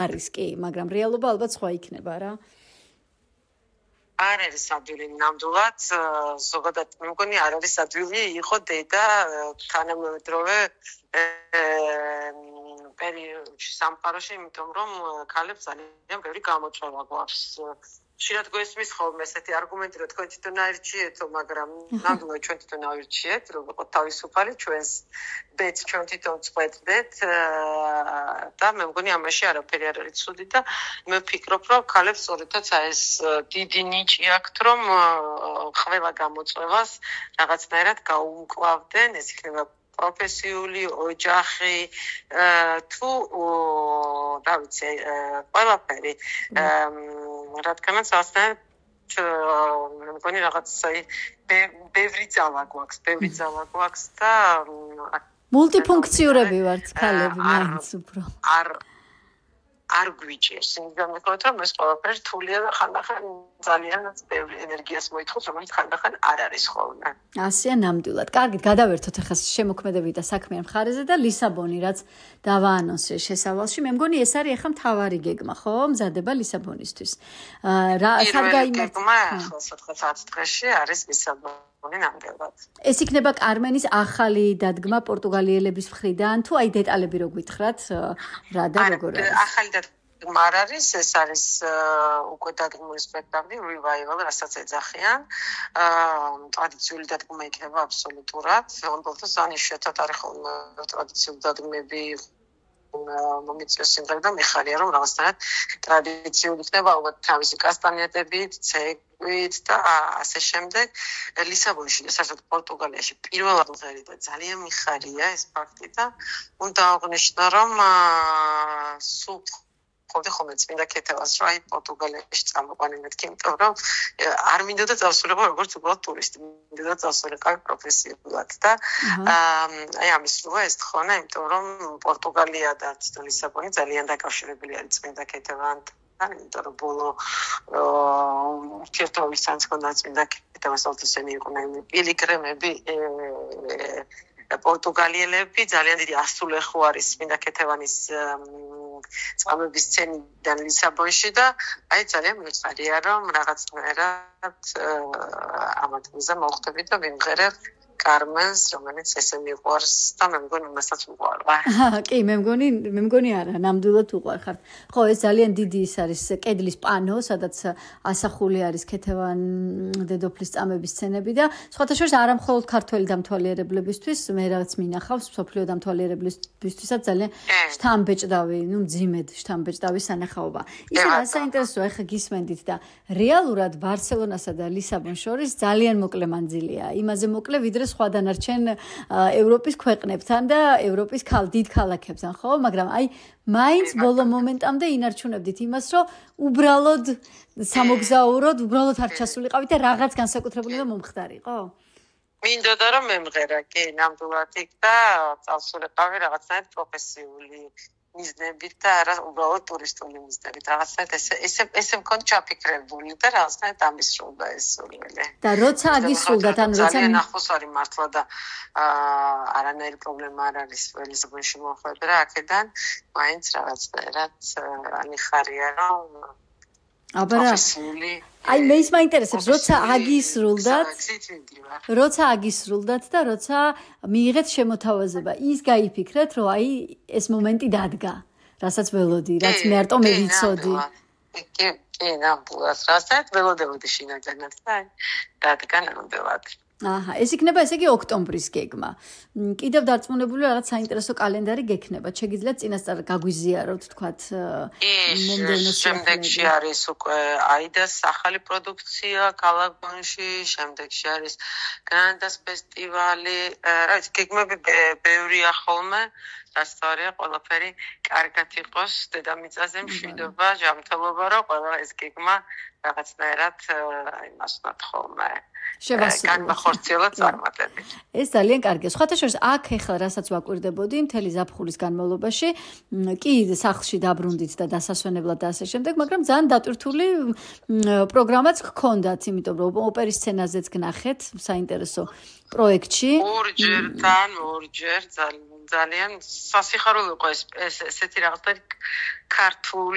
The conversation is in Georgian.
არის კი, მაგრამ რეალობა ალბათ სხვა იქნება რა. არ არის ადვილი ნამდვილად, ზოგადად მე მგონი არ არის ადვილი იყო დედა თანამედროვე პერიოდში სამყაროში, იმიტომ რომ ქალებს ძალიან ბევრი გამოწვევა გვაქვს. ხშირად გვესმის ხოლმე ესეთი არგუმენტი, რომ თქვენ თვითონ აირჩიეთო, მაგრამ ნამდვილად ჩვენ თვითონ ავირჩიეთ, რომ ვიყოთ თავისუფალი, ჩვენს ბედს ჩვენ თვითონ წყვეტდეთ და მე მგონი ამაში არაფერი არ არის ცუდი და მე ვფიქრობ, რომ ქალებს სწორედაც ეს დიდი ნიჭი აქვთ, რომ ყველა გამოწვევას რაღაცნაირად გაუმკლავდნენ, ეს იქნება პროფესიული, ოჯახი თუ რა ვიცი, ყველაფერი. რადგანაც ასთან მე მგონი რაღაც ბევრი ძალა გვაქვს და მულტიფუნქციურები ვართ ქალები მაინც უფრო. არ გვიჭირს, იმიტომ რომ ეს ყველაფერი რთულია და ხანდახან ძალიანაც ბევრი ენერგიას მოითხოვს, რომელიც ხანდახან არ არის ხოლმე. ასეა ნამდვილად. კარგით, გადავერთოთ ახლა შემოქმედებით და საქმიან მხარეზე და ლისაბონი, რაც დავაანონსე შესავალში. მე მგონი ეს არის ახლა მთავარი გეგმა, ხო? მზადება ლისაბონისთვის. რა გეგმა ახლა 4 დღეში არის ლისაბონი ნამდვილად. ეს იქნება კარმენის ახალი დადგმა პორტუგალიელების მხრიდან, თუ აი დეტალები რო გითხრათ, რა და როგორ არის? ახალი დადგმა არ არის, ეს არის უკვე დადგმული სპექტაკლი Revival, რასაც ეძახიან. ტრადიციული დადგმა იქნება აბსოლუტურად. უბრალოდ ანიშნეთ არის ხოლმე ტრადიციული დადგმები მომიწევს სიმღერა და მიხარია რომ რაღაცნაირად ტრადიციული იქნება ალბათ თავისი კასტანიეტებით, ცეკვით და ასე შემდეგ. ლისაბონში და საერთოდ პორტუგალიაში პირველად მღერი და ძალიან მიხარია ეს ფაქტი და უნდა აღნიშნო რომ სულ ხოლმე წმინდა ქეთევას რა პორტუგალიაში წამოყვანი მეთქი, იმიტომ რომ არ მინდოდა წავსულიყო როგორც უბრალოდ ტურისტი, მინდოდა წავსულიყო პროფესიულად და აი ამის როა ეს თხოვნა, იმიტომ რომ პორტუგალია და ლისაბონი ძალიან დაკავშირებული არის წმინდა ქეთევასთან, იმიტომ რომ ბოლო ურთიერთობისთან ჰქონდა წმინდა ქეთევას ალტუსენი იყვნენ პილიგრიმები პორტუგალიელები ძალიან დიდი ასულეხო არის წმინდა ქეთევანის წამების სცენიდან ლისაბონში და აი ძალიან მიხარია რომ რაღაცნაირად ამ ადგილზე მოვხდები და ვიმღერებ კარმენს, რომელიც ესე მიყვარს და მე მგონი მასაც უყვარვა. კი, მე მგონი არა, ნამდვილად უყვარხარ. ხო, ეს ძალიან დიდი ის არის კედლის პანო, სადაც ასახული არის ქეთევან დედოფლის წამების სცენები და სხვათა შორის არა მხოლოდ ქართველი დამთვალიერებლებისთვის, მე რაღაც მინახავს მსოფლიო დამთვალიერებლებისთვისაც ძალიან შთამბეჭდავი, მძიმედ შთამბეჭდავი სანახაობა. ისე რა საინტერესოა, ახლა გისმენდით და რეალურად ბარსელონასა და ლისაბონს შორის ძალიან მოკლე მანძილია. იმაზე მოკლე ვიდრე სხვა დანარჩენ ევროპის ქვეყნებთან და ევროპის დიდ ქალაქებთან, ხო? მაგრამ აი მაინც ბოლო მომენტამდე ინარჩუნებდით იმას, რომ უბრალოდ სამოგზაუროდ, უბრალოდ არ ჩასულიყავით და რაღაც განსაკუთრებული და მომხდარიყო? მინდოდა რომ მემღერა, კი, ნამდვილად იქ და წავსულიყავი რაღაცნაირად პროფესიული მიზნებით და არა უბრალოდ ტურისტული მიზნებით. რაღაცნაირად ესე მქონდა ჩაფიქრებული და რაღაცნაირად ამისრულდა ეს სურვილი. და როცა აგისრულდათ, ანუ როცა ძალიან ახლოს არის მართლა და არანაირი პრობლემა არ არის ლისაბონში მოხვედრა აქედან, მაინც რაღაცნაირად მიხარია რომ აი მე ის მაინტერესებს, როცა აგისრულდათ და როცა მიიღეთ შემოთავაზება, ის გაიფიქრეთ, რომ აი ეს მომენტი დადგა, რასაც ველოდი, რაც მე არტო მე ვიცოდი. კი, ნამდვილად, რასაც ველოდებოდი შინაგანად და დადგა ნამდვილად. აჰა, ეს იქნება ესე იგი ოქტომბრის გეგმა. კიდევ დარწმუნებული რაღაც საინტერესო კალენდარი გექნება. შეგიძლიათ წინასწარ გაგვიზიაროთ, თქვათ, მომდევნო შემდეგში არის უკვე აიდას ახალი პროდუქცია ქალაქ ბონში, შემდეგში არის გრანდას ფესტივალი. რა ვიცი, გეგმები ბევრია ხოლმე. დასწორია ყველაფერი კარგად იყოს, დედამიწაზე მშვიდობა, ჯანმრთელობა, რომ ყველა ეს გეგმა რაღაცნაირად იმას ვთქვათ ხოლმე. განმახორციელოთ წარმატებით. ეს ძალიან კარგია. სხვათა შორის აქ ეხლა რასაც ვაკვირდებოდი მთელი ზაფხულის განმავლობაში, კი სახლში დაბრუნდით და დასასვენებლად და ასე შემდეგ, მაგრამ ძალიან დატვირთული პროგრამაც გქონდათ, იმიტომ რომ ოპერის სცენაზეც გნახეთ საინტერესო პროექტში. ორჯერ ძალიან სასიხარულო იყო ესეთი რაღაცა ქართული